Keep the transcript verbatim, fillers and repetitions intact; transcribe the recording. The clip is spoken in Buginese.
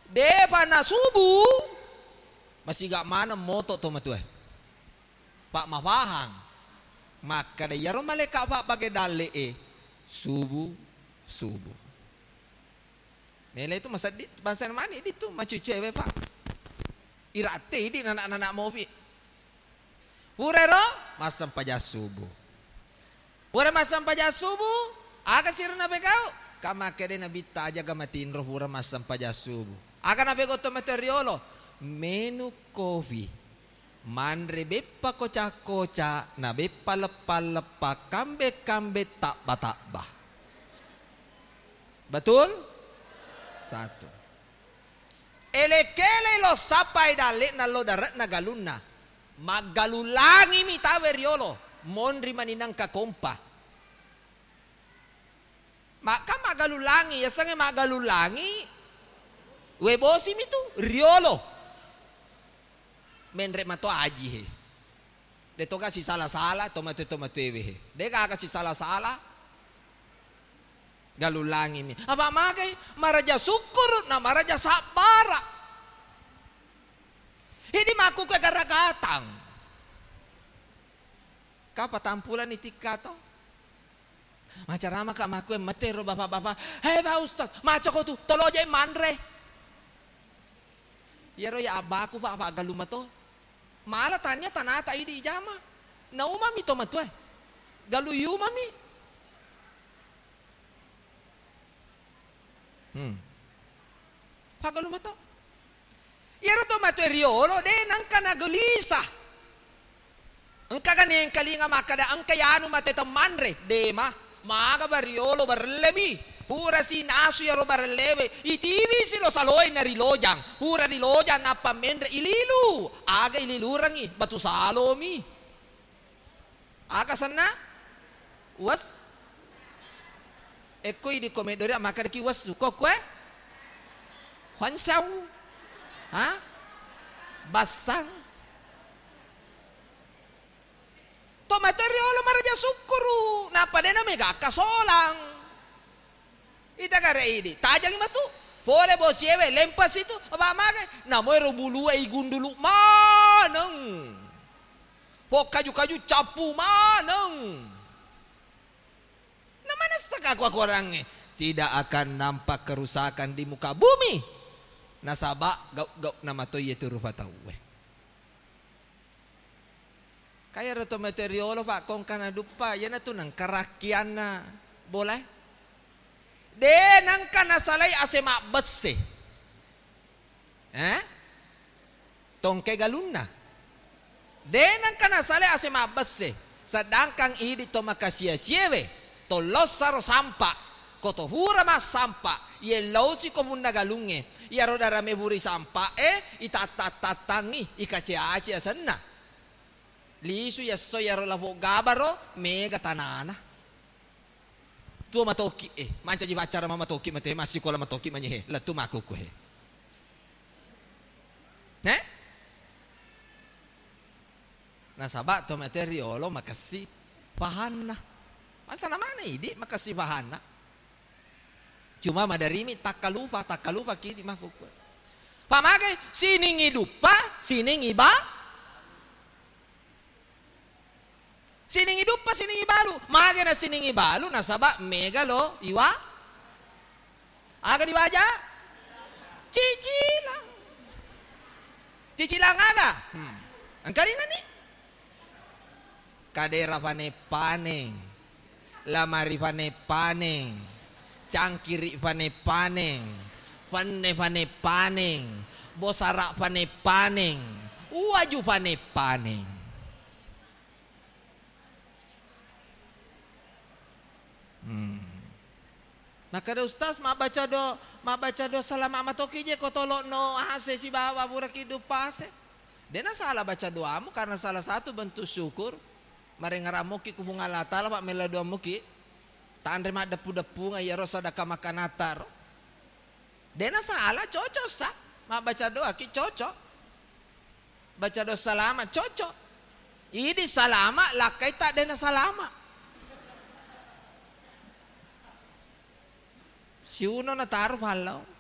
Depa na subuh, masiga maneng moto to matuae. Pak mafahang. Makkeda iyaro malaika' pabbage dalle'e, subuh, subuh. Mele itu maseddi, bangsa mani di tu macucu ewe, Pak. Iratte idi nana-nana mopi. Purero massempajang subuh. Pura massempajang subuh, aga sirna pekau? Ka makkeda Nabitta, aja ga matinro pura massempajang subuh. Aga napegau to mate riolo? Menu kopi. Manre beppa koca-koca, na beppa leppa-leppa, kambe-kambe, tabba-tabba. Betul? Satu. Ele-kele lo sappai dalle'na lo dare'na galunna. Maggalung langimi tawe riolo, monri mani nengka kompa. Makka maggalung langi, yasengnge maggalung langi, we bosimi tu riolo. Menre mato aji he. De toga sisala-sala, tomatoe-tomatoewe he. De gaga sisala-sala. Galung langimi. Apa magai? Maraja sukkuru na maraja sabbara. Idi makkukue garagatang. Ka patampulani tikka to. Macaramaka makkue mate ro bapak-bapak. Hei Pak Ustaz, macako tu, toloje manre. Iyaro ya abbaku, Pak, Pak, galung mato. Mala tania tanata idi ijama. Naumami to matuae. Galung yumami. Hmm. Paggalu mato. Iyaro to matu riolo de nengka nagulisa. Engka ga nengkalinga makkada engka yanu mate temmanre, de ma. Maga bariolo barellemi. Pura sinasu iyaro barellewe. Itiwi si lo saloe na rilojang. Pura rilojang nappa menre ililu. Aga ililurengi batu salomi. Aga senna? Wes. Ekko idi ko meddori makkedaki wessu. Ko kue? Huangsau. Ha? Bassang. To mate riolo maraja sukkuru. Nappa de na mega kasolang. Ita gare idi, tajangi matu. Pole bosiewe, lempas itu, apa magai? Namo ero bulue igundulu maneng. Pok kaju-kaju cappu maneng. Namanessa kaku-aku orangnge, tidak akan nampak kerusakan di muka bumi. Nasaba gau-gau namato iye tu rupa tauwe. Kaya ro to mate riolo, Pak, kongka naduppa, iyanatu nengka rakkianna bolae. De nengka nasalai ase mabbesse. Eh? Tongke galunna. De nengka nasalai ase mabbesse. Sedangkan idi to makasia-siewe, to lossaro sampa, ko to pura massampa, yellausi ko punna galungnge, iyaro darame puri sampa e, itatta-tattangi, ikace-ace asenna. Lisu yesso iyaro lapo gabaro, mega tanana. Tuo matoki, eh, mancaji paccara matoki mate, massikola matoki manyehe, lettu makkukku he. Eh? Nasaba to mate riolo makessi pahanna. Masalah mana idi makessi pahanna? Cuma maderimi takkalupa, takkalupa kidi makkukku. Pamagai sining iduppa, sining iba. Sining iduppa, sining ibalu. Mage na sining ibalu, nasaba mega lo iwa. Aga diwaja? Cicilang. Cicilang aga? Hmm. Engka rinani? Kadera fane-paneng. Lamari fane-paneng. Cangkiri fane-paneng. Penne fane-paneng. Bosara fane-paneng. Uwaju fane-paneng. Hmm. Makkeda Ustaz, mabbaca do-, mabbaca doa salama matoki je ko tolo'no ase sibawa puraki duppa ase. Dena salah baca doamu karena salah satu bentuk syukur. Marengngerang muki ku Puang Allah Taala, pa mella doa muki. Tanre maddeppu-deppungeng iyaro sadaka makkanatta ro. Dena salah, cocok sa. Mabbaca doa ki cocok. Baca doa salama, cocok. Idi salama, lakkai ta dena salama. Siuno nataro fallo.